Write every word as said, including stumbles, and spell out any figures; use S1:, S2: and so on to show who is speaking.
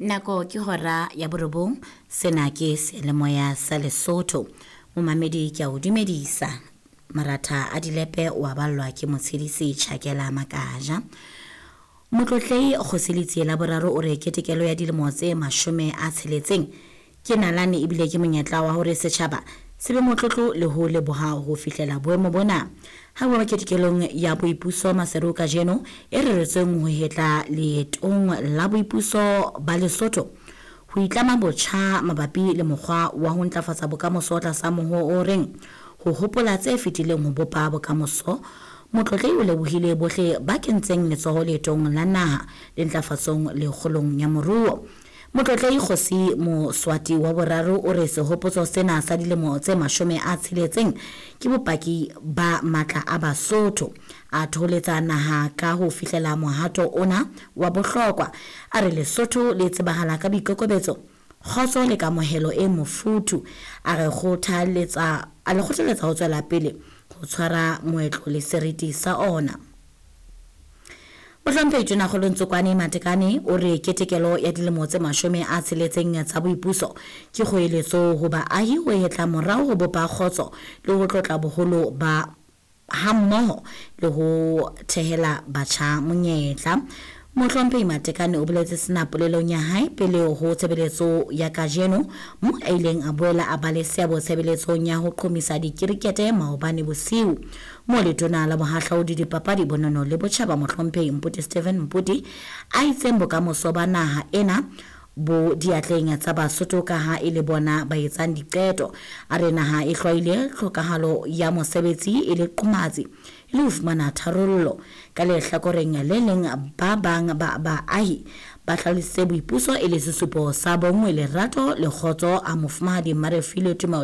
S1: Nako ke hora ya borobong, sena ke seyalemoya sa Lesotho. Momamedi ke a o dumedisa. Maratha a dilepe o a ballwa ke motshedisi Tjhakela Makaja. Motlotlehi Kgosi Letsie la boraro o re ketekelo ya dilemo tse mashome a tsheletseng ke nalane ebile ke monyetla wa hore setjhaba se be motlotlo le ho leboha ho fihlela boemo bona. Ha bua ketekelong ya boipuso Maseru kajeno e reretsweng ho hetla leetong la boipuso ba Lesotho ho itlama botjha mabapi le mokgwa wa ho ntlafatsa bokamoso tlasa moho o reng ho hopola tse fetileng ho bopa bokamoso. Motlotlehi o lebohile bohle ba kentseng letsoho leetong la naha le ntlafatsong le kgolong ya moruo. Motlotlehi Kgosi Moswati wa boraro o re sehopotso sena sa dilemo tse mashome a tsheletseng ke bopaki ba matla a Basotho. A thoholetsa naha ka ho fihlela mohato ona wa bohlokwa. A re Lesotho le tsebahala ka boikokobetso, kgotso le kamohelo e mofuthu. A re kgothaletsa a le kgothaletsa ho tswela pele ho tshwara moetlo le seriti sa ona. Mohlomphehi Tonakgolo Ntsokoane Matekane o re ketekelo ya dilemo tse mashome a tsheletseng tsa boipuso ke kgoeletso ho baahi ho hetla morao ho bopa kgotso le ho tlotla boholo ba hammoho le ho thehela batjha monyetla. Mohlomphehi Matekane o boletse sena polelong ya hae pele ho tshebeletso ya kajeno mo a ileng a boela a ba le seabo tshebeletsong ya ho qhomisa dikirikete maobane bosiu. Mo letona la bohahlaudi dipapadi bonono le botjhaba Mohlomphehi Mputi Stephen Mputi a itseng bokamoso ba naha ena bo diatleng tsa Basotho ka ha e le bona ba etsang diqeto. A re naha e hlwaile tlhokahalo ya mosebetsi e le qomatsi le ho fumana tharollo. Ka lehlakoreng le leng ba bang ba baahi ba hlalositse boipuso e le sesupo sa bonngwe, lerato le kgotso a mofumahadi Mmarefilwe Tumelo.